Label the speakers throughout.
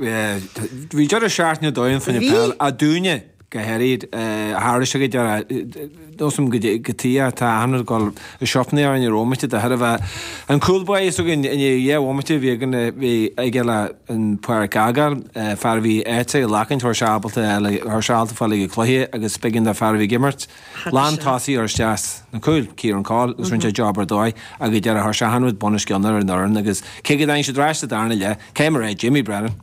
Speaker 1: Bhí deireadh seachtaine domhain faoina peil, a dúinne go háirid, tharla sé go deireadh, nósaim go tí tá achan rud ag dul i siopanna orainn ar bhomaite de thairbhe an cúl báire s'againn i ndiaidh 2 bhomaite bhí againn bhí aige le an pháirc a fhágáil, fear a bhí áite ag lachaint chuir sé ábalta chuir sé ábalta fáil ag an cluiche agus b'éigean do fear a bhí ag imirt lán tosaigh a chur isteach sna cúil, Kieran Coll, agus rinne sé job ar dóigh ach go deireadh chuir sé achan rud bunoscionn ar an fhoireann agus cé go dtáinig siad ar ais sa darna leath, cé mar é Jamie Brennan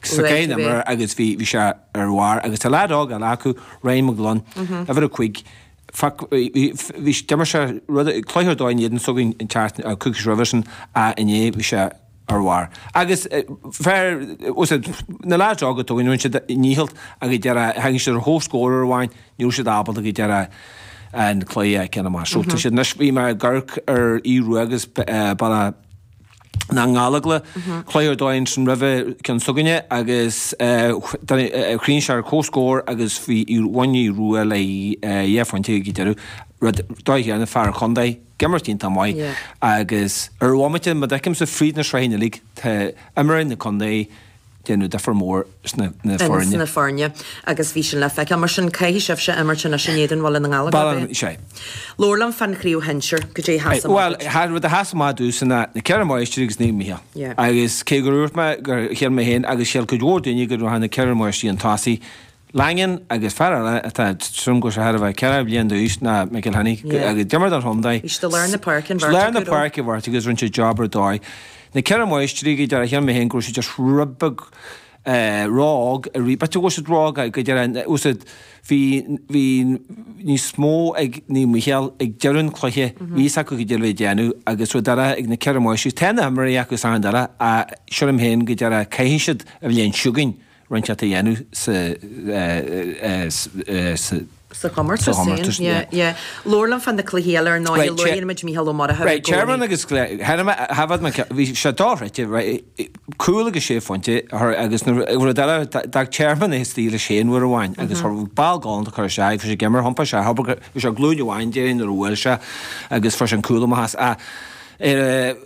Speaker 1: sa chéad imreoir agus bhí bhí sé ar bharr agus tá leaid óg eile acu, Ryan McGlone, uimhir 5, fuck bhí bhí d'imir sé rud cluiche ar dóigh in éadan s'againn an tseachtain coicís roimhe sin ach inné bhí sé ar bharr. Agus fear, na leaids óga atá againn, rinne siad a ndícheall ach ag deireadh, tháinig siad ar chomhscór uair amháin, ní raibh siad ábalta go deireadh an cluiche a cheann amach. So tá siad anois, bhí mé ag amharc ar Aodh Rua agus Baile na nGallóglach, cluiche ar dóigh ansin roimhe ceann s'againne agus chríochnaigh sé ar comhscór agus bhí bhain Aodh Rua le dhá phointe ag deireadh, rud dóigh chéanna, fear an chontae. Ag imirt iontach maith agus ar bhomaite má d'fheicimse fríd na sraitheanna uilig tá imreoirí na contae déanamh difear mór sna na foirne.
Speaker 2: sna foirne agus bhí sin le feiceáil. Mar sin caithfidh sibhse imirt anois in éadan Bhaile na nGallóglach,
Speaker 1: Baile, sea.
Speaker 2: Labhair liom fán chraobh shinsir, goidé a sheas amach
Speaker 1: Bhuel, duit. rud a sheas amach domhsa ná na Ceithre Máistrí agus Naomh Mícheál. Agus cé gur dhúirt mé gur shíl mé féin agus shíl cuid mhór daoine go raibh na Ceithre Máistrí chun tosaigh, Langan agus fear eile atá tuairim go bhfuil sé thar a bheith 4 bliain d'aois ná McElhinney agus d'imir don chontae.
Speaker 2: Bhí siad i lár na páirce an
Speaker 1: bheirt acu. Lár na páirce an bheirt agus rinne siad job ar dóigh. Na Ceithre Máistrí go deireadh shíl mé féin go raibh siad just rud beag ró-óg arís. B'fhéidir go bhfuil siad ró-óg go deireadh úsáid bhí bhí níos mó ag Naomh Mícheál ag deireadh an chluiche bhí fhios acu goidé a bhí le déanamh agus rud eile ag na Ceithre Máistrí tá na himreoirí acu is achan rud eile ach sílim féin go deireadh caithfidh siad an bhliain seo chugainn roinnt a dhéanamh sa
Speaker 2: sa chomórtas féin. Yeah, yeah. Labhair liom fá na cluichí eile ar ndóigh, luaigh muid Mícheál Ó Murchú
Speaker 1: i gcónaí. Right, Tearmann agus thaifead mé, bhí sé dochreidte, right, cúl agus sé phointe agus rud eile, d'fhág Tearmann é istigh leis féin uair amháin agus chuir ball galánta cur isteach, bhí sé ag imirt, thiompaigh sé, bhí sé glúin amháin déarfainn nuair a bhuail sé agus fuair sé an cúl amach as. Ach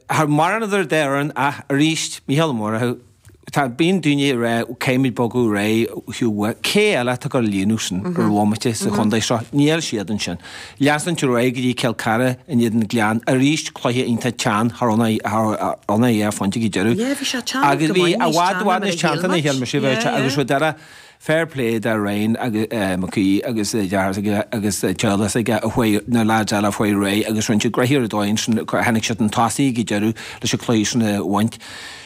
Speaker 1: thar maraon idir an dá fhoireann ach arís, Mícheál Ó Murchú, Tá, bíonn daoine ag rá caithfimid bogadh ar aghaidh Hugh Mhaith. Cé eile atá ag dul a líonadh sin ar bhomaite sa chontae seo? Níl siad ansin. Leanúint ar aghaidh go dtí Cill Chartha in éadan Gleann. Arís cluiche iontach teann thar ann a dhá phointe go deireadh.
Speaker 2: Yeah, bhí sé teann Agus
Speaker 1: bhí i bhfad i bhfad níos teannta ná a shíl mise a bheith agus rud eile, Fair play do Ryan agus McKee agus a dheartháir s'aige agus a teaghlach s'aige a chuaigh, na lads eile a chuaigh ar aghaidh agus rinne siad gnoithe ar dóigh ansin, tháinig siad chun tosaigh ag an deireadh leis an cluiche sin a bhaint.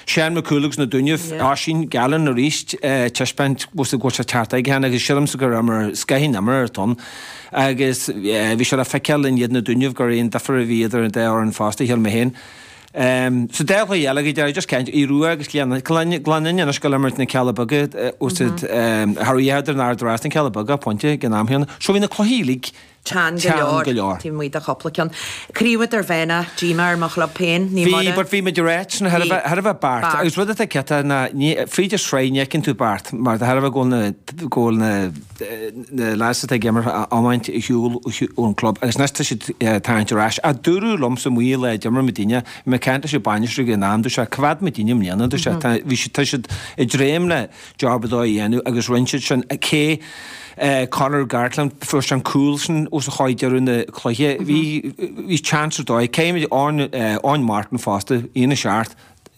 Speaker 1: Seán Mac Cumhaill agus na Dúnaibh, Oisín Gallen arís, taispeáint go bhfuil sé teacht aige cheana agus sílimse gur imreoir, scoth an imreoir atá ann agus bhí sé le feiceáil in éadan na Dúnaibh gur aon difear a bhí idir an dá fhoireann fosta, shíl mé féin. Sa dá chluiche eile go deireadh, just caint, Aodh Rua agus Gleann Fhinne anois ag dul imirt na Cealla Beaga úsaid thar oíche idir an Ard Rás na Cealla Beaga, pointe ag an am chéanna. So bhí na cluichí uilig
Speaker 2: teann go leor, taobh amuigh de chúpla ceann. Craobh Idirmheánach, díomá ar mo chlub féin,
Speaker 1: ní mar Bhí, but bhí muid ag ráit sin thar a bheith, thar a bheith beart. Agus rud atá cinnte ná ní, fríd an sraith ní fheiceann tú beart mar de thairbhe go bhfuil na, go bhfuil na, na lads atá ag imirt iomáint ar shiúl ón club agus anois tá siad ag tarraingt ar ais. Ach dúradh liomsa amuigh lá a d'imir muidinne, bhí mé ag caint leis an bainisteoir ag an am, dúirt sé, coimheád muidinne i mbliana, dúirt sé, tá, bhí siad, tá siad ag dréim le job ar dóigh a dhéanamh agus rinne siad sin. Cé Conor Gartland, fuair sé an cúl sin os a chomhair deireadh na cluiche, bhí, bhí chance ar dóigh. Cé Eoin, Eoin Martin fosta, 1-7.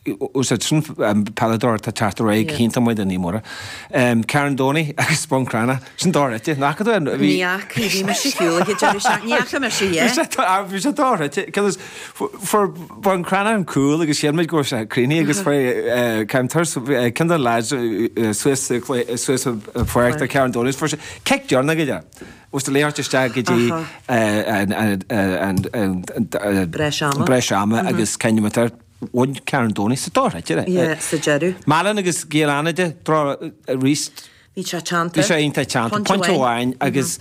Speaker 1: Úsáid sin peileadóir atá ag teacht ar aghaidh go hiontach maith do Naomh Muire. Carndoney agus Bun Cranncha. Sin dochreidte. Nach fhaca tú
Speaker 2: é? Ní fhaca, bhí mise ar shiúl ag an deireadh seachtaine. Ní fhaca mise é.
Speaker 1: Bhí sé dochreidte. Cos fuair Bun Cranncha an cúl agus shíl muid go raibh sé críochnaithe agus fuair ceann turas ceann de na lads suas suas an pháirc do Carndoney fuair sé cic deireanach aige. Os do léirt isteach go dtí an breis ama agus ceintiméadar. Bhain Carndoney sa dochreidte.
Speaker 2: Yeah, sa deireadh.
Speaker 1: Málainn agus Gaeil Fhánada, draw arís.
Speaker 2: Bhí sé teannta.
Speaker 1: Bhí sé iontach teannta. Pointe amháin agus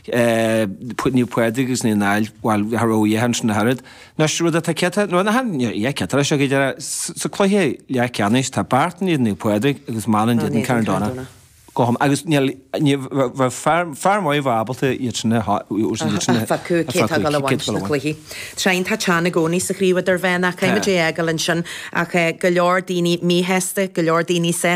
Speaker 1: Naomh Pádraig agus Naomh Niall, bhuel, cha raibh a dhath ansin ach oiread. Anois, rud atá cinnte, nó nach é cinnte leis, go deireadh, sa cluiche leathcheannais, tá Beartán in éadan Naomh Pádraig agus Málainn in éadan Carndonagh. Go hiom agus níl ní bheadh fear fear maith a bheadh ábalta iad sin a
Speaker 2: phiocadh cé atá ag dul a bhaint na cluichí. Tá sé iontach teann i gcónaí sa chraobh idirmheánach, caithfimid é a fhágáil ansin ach go leor daoine míshásta, go leor daoine sásta.